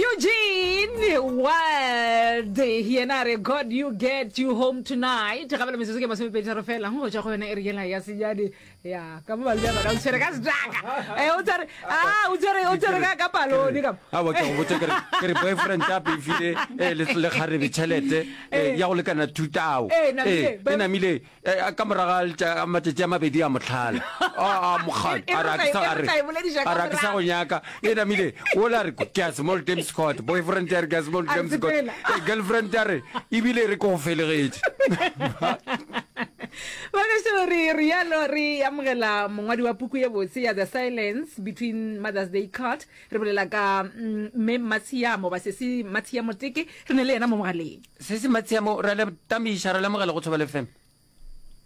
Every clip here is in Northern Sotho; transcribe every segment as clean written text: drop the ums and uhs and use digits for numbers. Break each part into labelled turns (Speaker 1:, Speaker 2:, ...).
Speaker 1: Eugene Wild yena a re God you get you home tonight gabele metsotso ke masomepeditharo fela go tšwa go yona e re yela ya senyane ya ka mo balea bana o tshwere ka setaka eh, o tshwere ah, o tshwere o tshwere ka ka palone ka
Speaker 2: awa ke go botse ke re boyfriend a befile eh, le kgarebe tšhelete eh, ya go lekana thutao e namile Eh, ka moraga ga matšatši a mabedi a motlhala a mokgadi a re a ke sa go nyaka e namile o la re ke a small terms court boyfriend ya re ke a small terms court eh, girlfriend ya re ebile re ke go felegetše
Speaker 1: Bagešo re rialo re amogela mongwadi wa puku ye botse ya The Silence Between Mother's Day Card re bolela ka mm, mme Matshiamo ba sesi Matshiamo Teke re ne le yena mo mogaleng
Speaker 2: Se se Matshiamo, re a le tamiša, re lemogela go Thobela FM.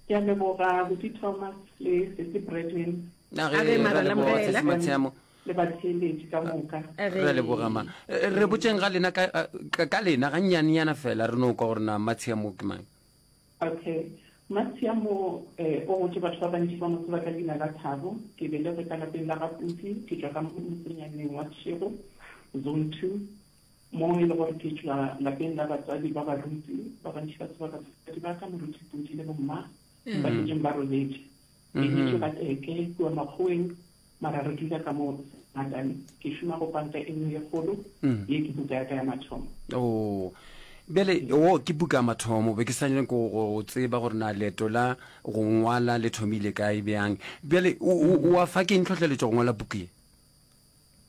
Speaker 3: Ke a leboga Buti Thomas le Sesi Bradwin.
Speaker 2: A ge,
Speaker 1: re
Speaker 2: a leboga Sesi Matshiamo.
Speaker 3: Le batheeletši ka moka.
Speaker 2: Re a leboga ma. Re botšeng ga lena ka, ka lena ga nnyanenyana fela re no kwa gore na Matshiamo ke mang.
Speaker 3: Okay. Matshiamo eh, o gotše batho ba bantši ba mo tseba ka leina la Thabo. Ke belegwe ka lapeng la ga Putsi, ke tšwa ka motsenyaneng wa Tšhego, Zone 2. Mo e le gore ke tšwa lapeng la batswadi ba baruti, ba bantši ba tseba batswadi ba ka, Moruti Pudi le bomma, ba šetšeng ba robetše. Ke nyetšwe ga Teke kua Makgoweng, mara re dula ka mo Ngatane. Ke šoma go panka e nngwe ye kgolo, ye ke buka ya ka ya mathomo.
Speaker 2: Oh, bjale wo ke buka ya mathomo, be ke sa nyake go go tseba gore na leeto la go ngwala le thomile kae bjang. Bjale o, o, o wa fa ke eng tlhohleletšo go ngwala puku ye?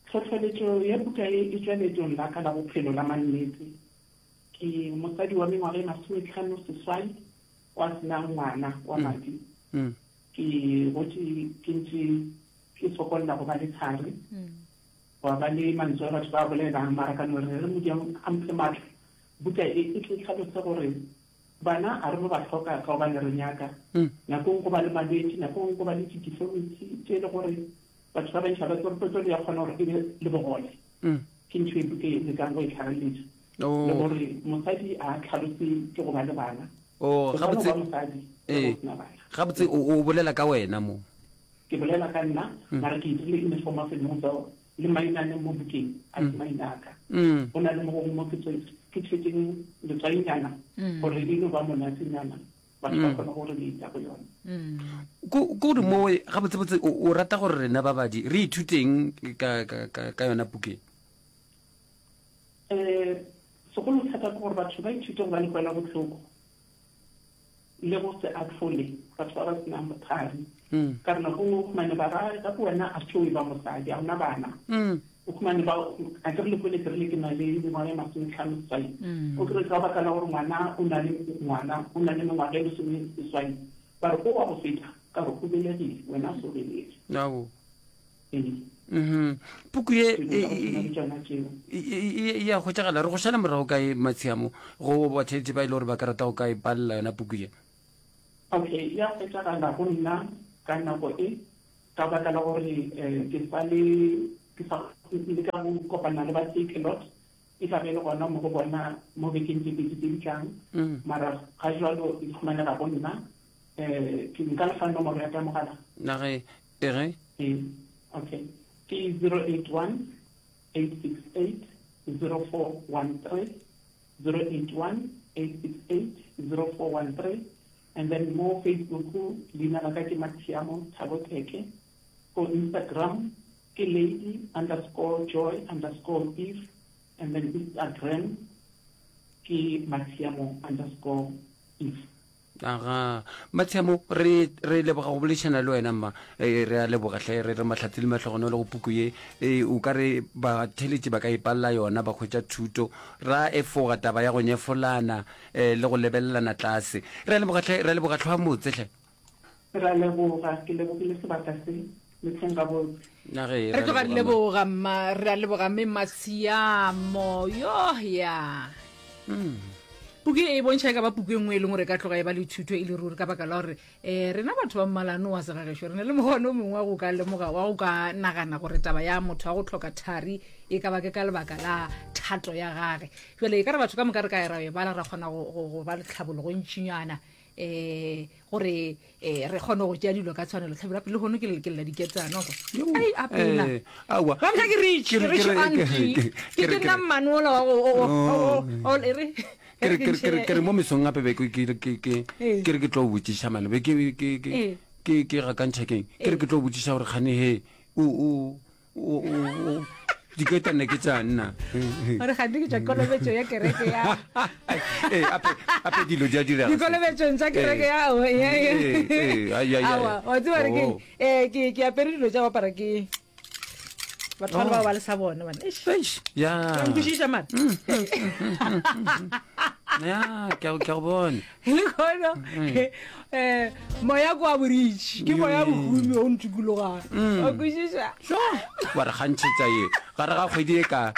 Speaker 3: Tlhohleletšo ya buka ye e tšwa leetong la ka la bophelo la mannete. Ke mosadi wa mengwaga e masometlhano seswai wa se nang ngwana wa madi. Ke gotše ke ntše ke sokolla go ba le thari, gwa ba le mantswe a batho ba a bolelang, mara ka no re re Modimo a mphe matla. Buka e e tle e hlalose gore bana a re no ba hloka ka gobane re nyaka. Nakong go ba le malwetši, nakong go ba le di-deformity tše e le gore Batho ba bantši ga ba tsebe gore petrol ya kgona gore e be le bogole. Ke ntho e ke lekang go e tlhageletša. Le gore mosadi a tlhalose ke go ba le bana.
Speaker 2: Oh,
Speaker 3: O
Speaker 2: gabotse
Speaker 3: ba mosadi le go sena bana.
Speaker 2: Gabotse o o bolela ka wena mo.
Speaker 3: Ke bolela ka nna, mara ke e dirile in the form of a novel le mainane mo bukeng a se maina a ka. Go na le mo gongwe mo ke ke tšhetšeng letswainyana gore e no ba monatenyana. batho ba kgone go relata go yona.
Speaker 2: Ko gore mo gabotsebotse o rata gore rena babadi re ithuteng ka, ka, ka, ka yona puke?
Speaker 3: Um segolo thata ke gore batho ba ithute go ba le kwela bohloko le go se ahlole batho ba ba senang bothari. Ka re nako nngwe o khumane ba ra gape wena a tšoe ba mosadi a ona bana. O khumane ba a ke re le kwele ke rile ke na le mengwaga e masometlhano seswai. O kry ka baka la gore ngwana o na le ngwana o na le mengwaga e lesome seswai ba re o wa go feta ka re o belegile wena o se o belege.
Speaker 2: Ao.
Speaker 3: Ee.
Speaker 2: Mhm. Puku ye
Speaker 3: Dilo tsa go tshwana le tšona tšeo.
Speaker 2: e ya hwetšagala re go šala morago kae Matshiamo go batheetši ba e le gore ba ka rata go ka e palela yona puku ye?
Speaker 3: Okay, ya hwetšagala go nna ka nako e ka baka la gore ke sa le ke sa leka go kopana le ba Takealot e tla be e le gona mo go bona mo bekeng tse pedi tse di tlang mara ga jwalo e humanega go nna um ke nka lefa nomoro ya ka mogala
Speaker 2: nage ege
Speaker 3: ee okay ke 081 868 0413 081 868 0413 and then mo Facebook leina la ka ke Mathiamo Thabo Teke, ko Instagram ke lady underscore joy underscore eve and then Instagram ke Mathiamo underscore eve.
Speaker 2: Aga, Mathiamo, re, re leboga go boledišana le wena, mma. E, re a leboga hle, re re mahlatse le mahlogonolo go puku ye. E, o ka re batheeletši ba ka ipalela yona, ba hwetša thuto, ra efoga taba ya go nyefolana, e, le go lebelelana tlase. Re a leboga hle, re a leboga hlwa motse hle.
Speaker 3: Re a leboga, ke lebogile sebaka se, le hleng gabotse.
Speaker 2: Na ge,
Speaker 1: Re
Speaker 2: re a
Speaker 1: tloga re
Speaker 2: leboga, mma.
Speaker 1: leboga mma, re a leboga mme Matshiamo. Yoh ya. Puku e e bontšha e ka ba puku e nngwe e leng gore e ka tloga e ba le thuto e le ruri ka baka la gore um rena batho ba mmalano wa segagešo re na le mokgwa o mongwe wa go ka lemoga wa go ka nagana gore taba ya motho wa go tlhoka thari e ka ba ke ka lebaka la thato ya gage. Jale e ka re batho ka moka re ka ya ra e bala ra kgona go ba le tlhabologo ntšinyana. um gore um re kgone go tšea dilo ka tshwanelo. Hlabirwa pele lehono ke ke lla diketsana kwa. Ai, a pela.
Speaker 2: Eh, aowa.
Speaker 1: Ba mhla ke rich,
Speaker 2: Ke
Speaker 1: ke
Speaker 2: re-
Speaker 1: rich
Speaker 2: ke re-
Speaker 1: auntie.
Speaker 2: ke-
Speaker 1: Ke
Speaker 2: ke re-
Speaker 1: ke nna mmane ola wa go o- o- o- o- o- e re
Speaker 2: ke re- ke re- ke re- ke re mo mesong gape be ke- ke ke- ke-
Speaker 1: Ee.
Speaker 2: ke re ke tlo botšiša mane be ke ke- ke-
Speaker 1: Ee.
Speaker 2: ke ke gakantšha keng ke re ke tlo botšiša gore kgane he o o o o o diketane ke tša nna
Speaker 1: gore gante ke tšwa kolobetšo ya kereke ya
Speaker 2: ee ape ape dilo di a direga
Speaker 1: dikolobetšong tša kereke ya
Speaker 2: Ee, ee, ai, ai, ai.
Speaker 1: aowa wa tseba re ke
Speaker 2: Oh.
Speaker 1: eh, ke ke apere dilo tša go apara ke batho ba le bao ba le sa bona bana Eish,
Speaker 2: Eish, ya
Speaker 1: wa nkwešiša mara
Speaker 2: ya ke a ke a go bona
Speaker 1: lehono um moya ko wa boritši ke moya bohumi o ntukologang wa kwešiša
Speaker 2: wa re gantšhetša ye gare ga kgwedi e ka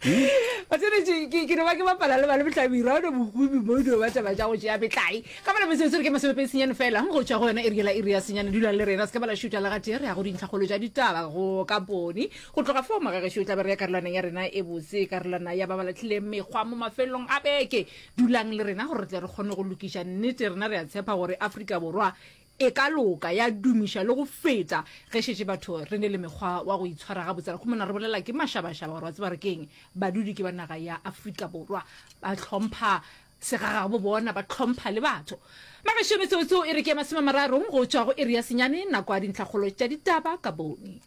Speaker 1: Batsweletši, ke ke no ba ke bapala le ba le bohlabirwa one bohumi mo dio ba taba tša go tšea metlae ka bala metsotso re ke masomepedi senyane fela go tšwa go yona iri la iri ya senyane dulang le rena se ka bala šutha le gatee re ya go dintlhakgolo tša ditaba go kampone go tloga foo magagešo o tla be re ya karolwaneng ya rena e botse karolwana ya ba ba latlhileng mekgwa mo mafelong a beke Dulang le rena gore re tle re kgone go lokiša nnete. Rena re a tshepa gore Afrika Borwa e ka loka, ya dumiša le go feta ge šetše batho re ne le mekgwa wa go itshwara gabotse. Ra khumana re bolela ke mašabašaba gore wa tseba re keng, badudi ke ba naga ya Afrika Borwa, ba hlompha segagabo bona, ba hlompha le batho. Magešo metsotso e re ke ya masomemararong go tšwa go iri ya senyane, nako ya dintlhakgolo tša ditaba ka bone.